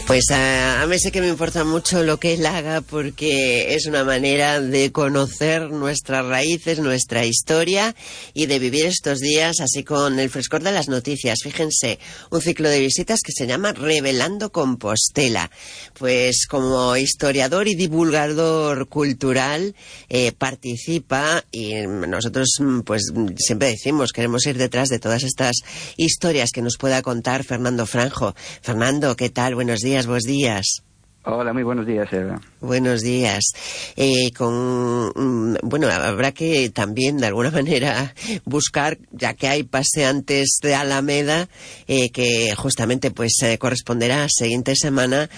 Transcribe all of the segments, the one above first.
Pues a mí sí que me importa mucho lo que él haga, porque es una manera de conocer nuestras raíces, nuestra historia y de vivir estos días así con el frescor de las noticias. Fíjense, un ciclo de visitas que se llama Revelando Compostela. Pues como historiador y divulgador cultural participa, y nosotros pues siempre decimos, queremos ir detrás de todas estas historias que nos pueda contar Fernando Franjo. Fernando, ¿qué tal? Buenos días. Buenos días. Hola, muy buenos días, Eva. Buenos días. Bueno, habrá que también de alguna manera buscar, ya que hay paseantes de Alameda, que justamente pues corresponderá a siguiente semana,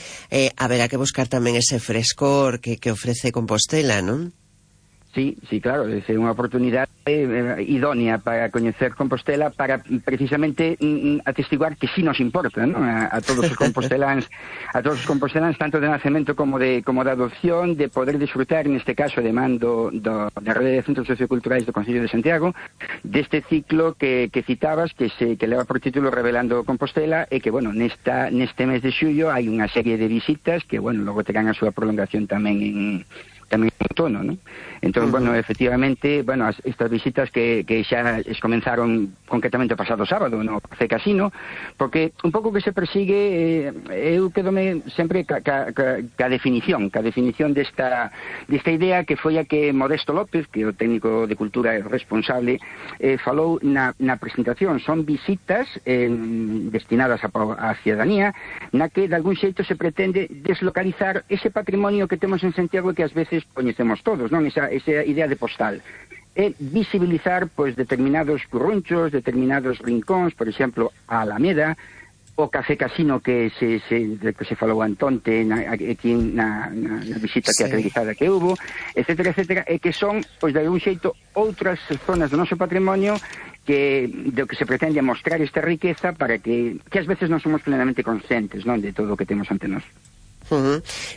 habrá que buscar también ese frescor que ofrece Compostela, ¿no? Sí, claro, é unha oportunidade idónea para coñecer Compostela, para precisamente atestiguar que sí nos importa, ¿no? a todos os composteláns, tanto de nacemento como de adopción, de poder disfrutar, neste caso, de mando da Rede de Centros Socioculturais do Concello de Santiago, deste ciclo que citabas, que leva por título Revelando Compostela, e que, bueno, neste mes de xullo hai unha serie de visitas que, bueno, logo terán a súa prolongación tamén en outono, ¿no? Entón, bueno, efectivamente, bueno, estas visitas que xa comenzaron concretamente o pasado sábado no Café Casino, porque un pouco que se persigue, eu quedome sempre ca definición desta idea, que foi a que Modesto López, que é o técnico de cultura responsable, falou na presentación. Son visitas destinadas á cidadanía, na que de algún xeito se pretende deslocalizar ese patrimonio que temos en Santiago, que ás veces coñecemos todos, non? Esa idea de postal. E visibilizar, pois, determinados currunchos, determinados rincóns, por exemplo, a Alameda, o Café Casino que se falou antonte aquí na visita teatralizada que hubo, etcétera, e que son, pois, de algún xeito, outras zonas do noso patrimonio do que se pretende mostrar esta riqueza, para que ás veces non somos plenamente conscientes, non, de todo o que temos ante nós.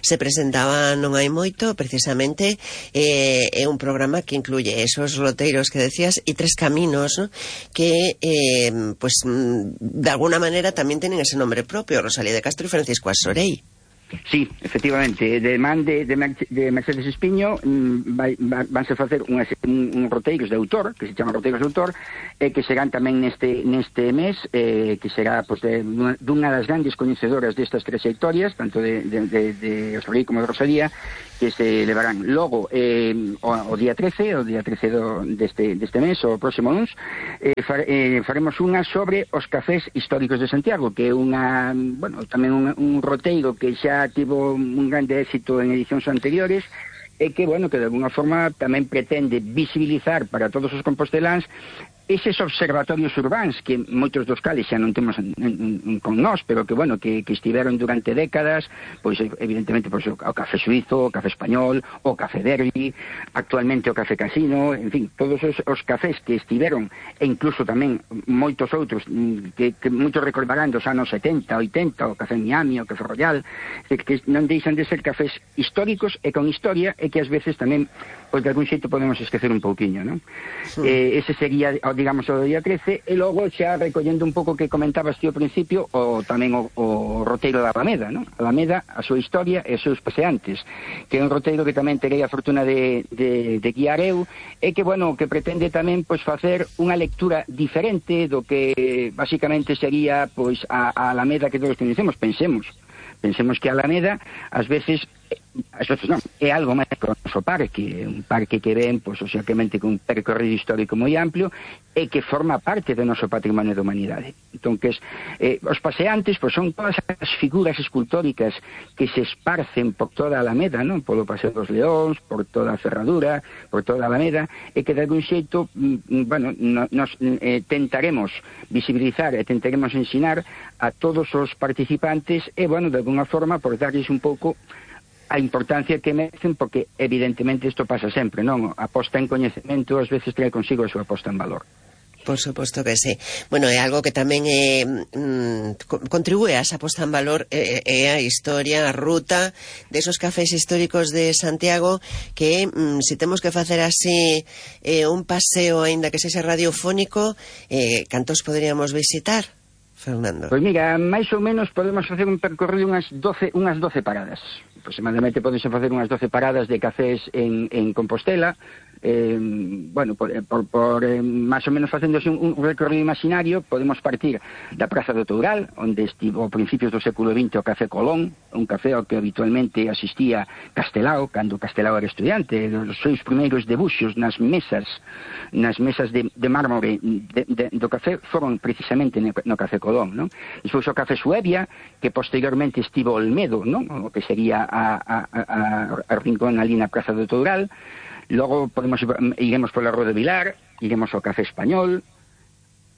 Se presentaba non hai moito, precisamente é un programa que incluye esos roteiros que decías e 3 caminos, ¿no? Que pues de alguna manera tamén tienen ese nombre propio, Rosalía de Castro e Francisco Asorey. Sí, efectivamente, de man de Mercedes Espiño vanse facer un roteiros de autor, que se chama roteiros de autor, que serán tamén neste mes, que será, pues, dunha das grandes coñecedoras destas trayectorias, tanto de Asorey como de Rosalía, que se levarán logo o día 13 deste mes, o próximo luns, faremos unha sobre os cafés históricos de Santiago, que é tamén un roteiro que xa tivo un grande éxito en edicións anteriores, e que, bueno, que de alguna forma tamén pretende visibilizar para todos os composteláns eses observatorios urbáns, que moitos dos cales xa non temos con nós, pero que, bueno, que estiveron durante décadas, pois, evidentemente, pois, o Café Suizo, o Café Español, o Café Derby, actualmente o Café Casino, en fin, todos os cafés que estiveron, e incluso tamén moitos outros, que moitos recordarán dos anos 70, 80, o Café Miami, o Café Royal, que non deixan de ser cafés históricos e con historia, e que ás veces tamén, pois, de algún xeito podemos esquecer un pouquiño, non? Ese sería, digamos, o día 13, e logo xa recollendo un pouco que comentabas ti ao principio, tamén o roteiro da Alameda, non? Alameda, a súa historia e os seus paseantes, que é un roteiro que tamén terei a fortuna de guiar eu, e que, bueno, que pretende tamén, pois, facer unha lectura diferente do que basicamente sería, pois, a Alameda que todos conhecemos. Pensemos que a Alameda, ás veces non, é algo máis que o noso parque, un parque que ven, pois, obviamente, con un percorrido histórico moi amplio, e que forma parte do noso patrimonio da humanidade. Entón, que os paseantes, pois, son todas as figuras escultóricas que se esparcen por toda a Alameda, non? Polo Paseo dos Leóns, por toda a Ferradura, por toda a Alameda, e que de algún xeito, bueno, nos tentaremos visibilizar e tentaremos ensinar a todos os participantes, e, bueno, de alguna forma, por darlles un pouco a importancia que merecen, porque evidentemente isto pasa sempre, non? A posta en coñecemento ás veces trae consigo a súa posta en valor. Por suposto que sí. Bueno, é algo que tamén contribúe a esa posta en valor, é a historia, a ruta desos cafés históricos de Santiago, que se temos que facer así un paseo, aínda que sexa radiofónico, cantos poderíamos visitar? Fernando? Pois mira, máis ou menos podemos facer un percorrido unhas 12 paradas. Aproximadamente podes facer unhas 12 paradas de cafés en Compostela. Bueno, por máis ou menos facéndose un recorrido imaginario, podemos partir da Praza do Toural, onde estivo a principios do século XX o Café Colón, un café ao que habitualmente asistía Castelao, cando Castelao era estudiante. Os seus primeiros debuxos nas mesas de mármore do café foron precisamente no Café Colón, non? Despois o Café Suevia, que posteriormente estivo Olmedo, non? O que sería a rincón ali na Praza do Toural. Logo iremos pola Rua de Vilar, iremos ao Café Español,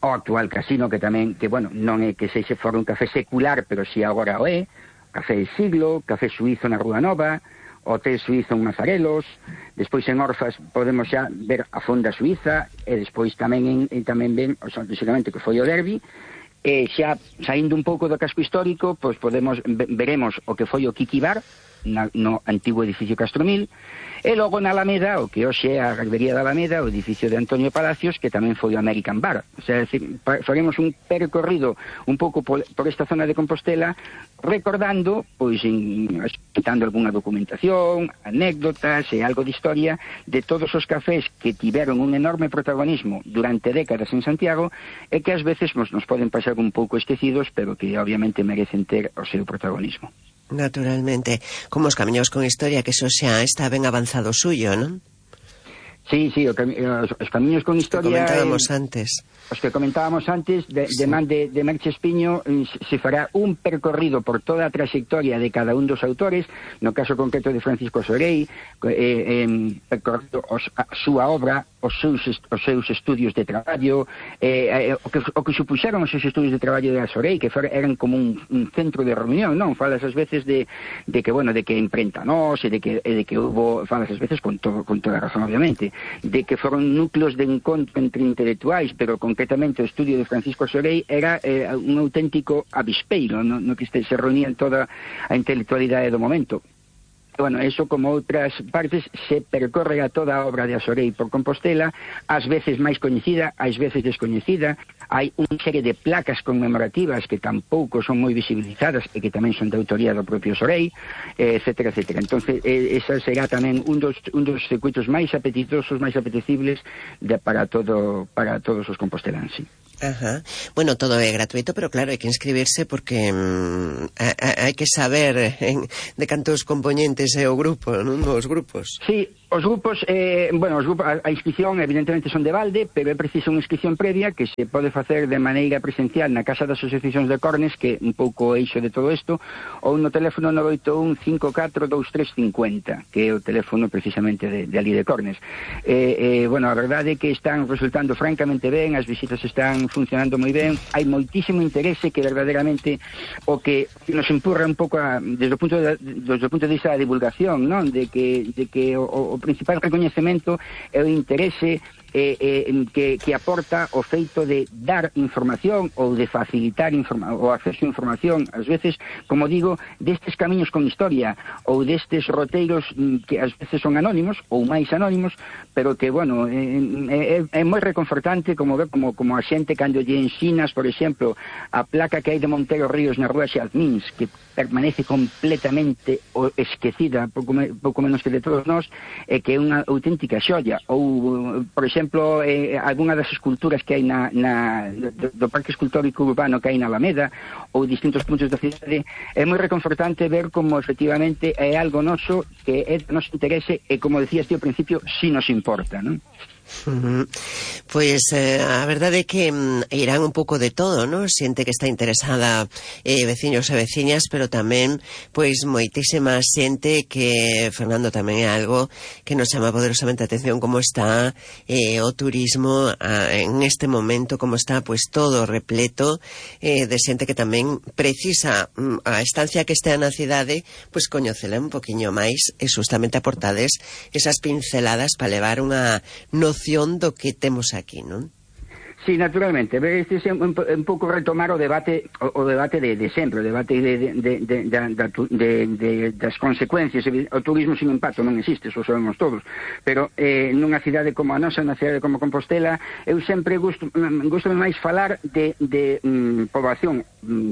ao actual Casino, que tamén, que bueno, non é que se fora un café secular, pero si agora o é, Café del Siglo, Café Suizo na Rúa Nova, Hotel Suizo en Mazarelos. Despois en Orfas podemos xa ver a Fonda Suiza, e despois tamén ven, basicamente, que foi o Derby. E xa saindo un pouco do casco histórico, pois veremos o que foi o Kiki Bar no antigo edificio Castromil, e logo na Alameda, o que hoxe é a Gallería da Alameda, o edificio de Antonio Palacios, que tamén foi o American Bar. O sea, faremos un percorrido un pouco por esta zona de Compostela, recordando, pois, citando algunha documentación, anécdotas e algo de historia de todos os cafés que tiveron un enorme protagonismo durante décadas en Santiago, e que ás veces nos poden pasar un pouco esquecidos, pero que obviamente merecen ter o seu protagonismo. Naturalmente, como os camiños con historia, que eso xa está ben avanzado suyo, non? Sí, os camiños con historia... Os que comentábamos antes, de man de Merche Espiño, se fará un percorrido por toda a trayectoria de cada un dos autores, no caso concreto de Francisco Sorey, percorrendo a súa obra, os seus estudios de traballo, o que supuxeron os seus estudios de traballo de Sorey, que eran como un centro de reunión, non? Falas ás veces de que imprenta nós, e de que hubo, falas ás veces con toda razón, obviamente, de que foron núcleos de encontro entre intelectuais, pero concretamente o estudio de Francisco Sorey era un auténtico avispeiro, no que se reunían toda a intelectualidade do momento. Bueno, eso, como outras partes, se percorre a toda a obra de Sorey por Compostela, ás veces máis coñecida, ás veces descoñecida. Hai unha serie de placas conmemorativas que tampouco son moi visibilizadas e que tamén son de autoría do propio Sorey, etcétera, etcétera. Entonces, esa será tamén un dos circuitos máis apetitosos, máis apetecibles para todos os composteláns, sí. Ajá. Bueno, todo é gratuito, pero claro, hai que inscribirse porque hai que saber de cantos componentes é o grupo, non? Os grupos. Sí, os grupos, a inscripción evidentemente son de balde, pero é preciso unha inscripción previa que se pode facer de maneira presencial na Casa das Asociacións de Cornes, que é un pouco o eixo de todo isto, ou no teléfono 981 54 2350, que é o teléfono precisamente de ali de Cornes. Bueno, a verdade é que están resultando francamente ben, as visitas están funcionando moi ben, hai moitísimo interese, que verdadeiramente o que nos empurra un pouco desde o punto de vista da divulgación, non? De que o principal recoñecemento é o interese que aporta o feito de dar información ou de facilitar o acceso a información, ás veces, como digo, destes camiños con historia ou destes roteiros que ás veces son anónimos ou máis anónimos, pero que, bueno, é moi reconfortante como ver como a xente cando lle ensinas, por exemplo, a placa que hai de Montero Ríos na Rúa Xalmins, que permanece completamente esquecida, pouco menos que de todos nós, e que é unha auténtica xoia. Ou, por exemplo, algunha das esculturas que hai do Parque Escultórico Urbano que hai na Alameda, ou distintos puntos da cidade. É moi reconfortante ver como efectivamente é algo noso que é de noso interese e, como decías ti ao principio, si nos importa, non? Pois a verdade é que irán un pouco de todo, ¿no? Xente que está interesada, veciños e veciñas, pero tamén pois moitísima xente que, Fernando, tamén é algo que nos chama poderosamente a atención, como está o turismo en este momento, como está pois todo repleto de xente que tamén precisa a estancia que estea na cidade, pois coñecela un poquinho máis e justamente aportades esas pinceladas para levar unha noción do que temos aquí, non? Sí, naturalmente. Este é un pouco retomar o debate de sempre, o debate das consecuencias. O turismo sin impacto non existe, eso sabemos todos. Pero nunha cidade como a nosa, nunha cidade como Compostela, eu sempre gusto máis falar de poboación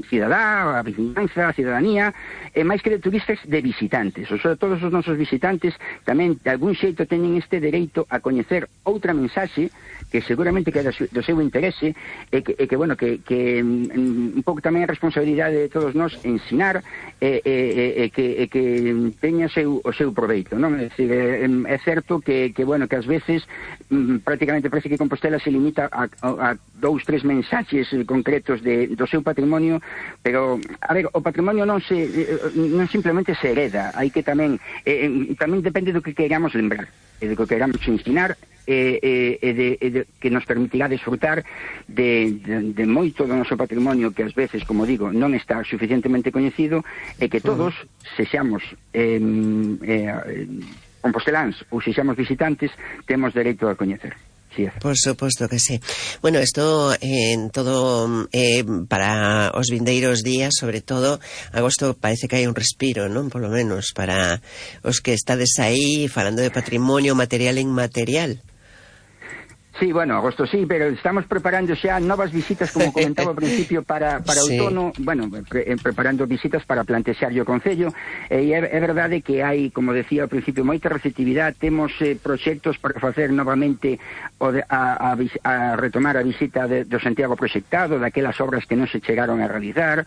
cidadá, a vizinanza, a cidadanía, e máis que de turistas, de visitantes. O sea, todos os nosos visitantes tamén, de algún xeito, teñen este dereito a coñecer outra mensaxe que seguramente que é do seu interese e que bueno, que un pouco tamén a responsabilidade de todos nós ensinar e que teña o seu proveito, non? É dicir, é certo que bueno, que ás veces prácticamente parece que Compostela se limita a 2-3 mensaxes concretos do seu patrimonio, pero a ver, o patrimonio non simplemente se hereda, hai que tamén depende do que queramos lembrar e do que queramos ensinar que nos permitirá desfrutar de moito do noso patrimonio que ás veces, como digo, non está suficientemente coñecido e que todos sexamos composteláns ou sexamos visitantes temos dereito a coñecer. Sí, por suposto que sí. Bueno, esto en todo para os vindeiros días, sobre todo agosto, parece que hai un respiro, non? Por lo menos para os que estades aí falando de patrimonio material e inmaterial. Sí, bueno, agosto sí, pero estamos preparando xa novas visitas, como comentaba ao principio, para sí. Outono, bueno, preparando visitas para plantexarlle o Concello, e é verdade que hai, como decía ao principio, moita receptividade, temos proxectos para facer novamente a retomar a visita do Santiago proxectado, daquelas obras que non se chegaron a realizar,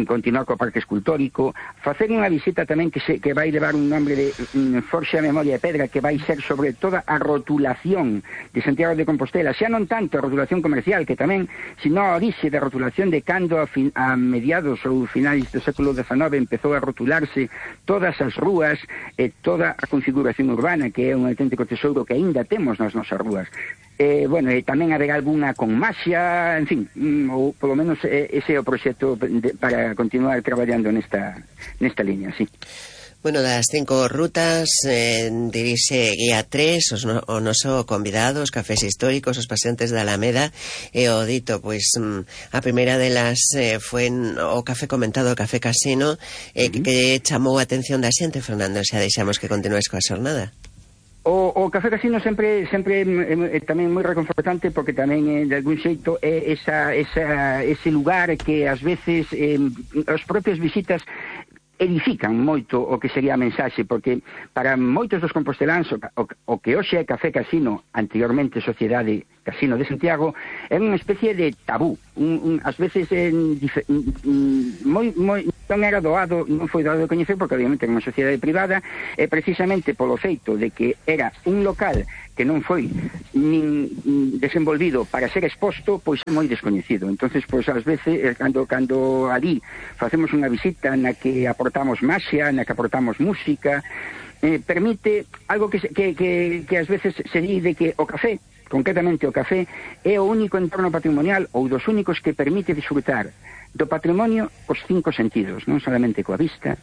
continuar co Parque Escultórico, facer unha visita tamén que vai levar un nombre de Forxa, Memoria e Pedra, que vai ser sobre toda a rotulación de Santiago de Compostela, xa non tanto a rotulación comercial, que tamén, sino a orixe da rotulación de cando a mediados ou finais do século XIX empezou a rotularse todas as rúas e toda a configuración urbana, que é un auténtico tesouro que aínda temos nas nosas rúas. Bueno, e tamén haberá algunha con maxia, en fin, ou polo menos ese é o proxecto para continuar traballando nesta liña, sí. Bueno, das 5 rutas dirixe Guía 3, o noso convidados, cafés históricos, os paseantes da Alameda, e o dito, pois a primeira delas foi o café comentado, o café casino, que chamou a atención da xente, Fernando, xa deixamos que continues coa xornada. O café casino sempre tamén moi reconfortante, porque tamén de algún xeito é ese lugar que ás veces os propios visitas edifican moito o que sería a mensaxe, porque para moitos dos composteláns o que hoxe é Café Casino, anteriormente Sociedade Casino de Santiago, é unha especie de tabú. Ás veces non foi doado de coñecer, porque obviamente era unha sociedade privada, e precisamente polo feito de que era un local que non foi nin desenvolvido para ser exposto, pois é moi descoñecido. Entonces, pois ás veces cando ali facemos unha visita na que aportamos maxia, na que aportamos música, permite algo que ás veces se di de que o café, concretamente o café, é o único entorno patrimonial ou dos únicos que permite disfrutar do patrimonio os 5 sentidos, non solamente coa vista,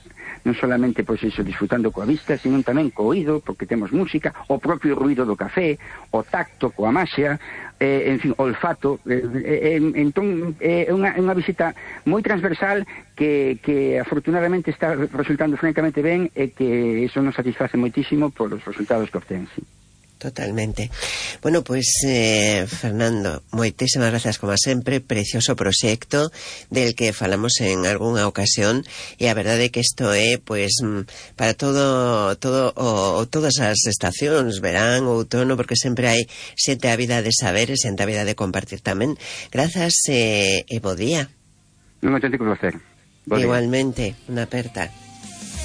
non solamente pois iso disfrutando coa vista, sino tamén co oído, porque temos música, o propio ruido do café, o tacto coa maxia, en fin, o olfato. Entón é unha visita moi transversal que afortunadamente está resultando francamente ben, e que iso nos satisface moitísimo por os resultados que obtén, sí. Totalmente. Bueno, pois, Fernando, moitísimas gracias como sempre, precioso proxecto del que falamos en algunha ocasión, e a verdade é que isto é, pois, para todas as estacións, verán, outono, porque sempre hai xente ávida de saber e xente ávida de compartir tamén. Grazas e bo día. Un auténtico placer. Igualmente, unha aperta.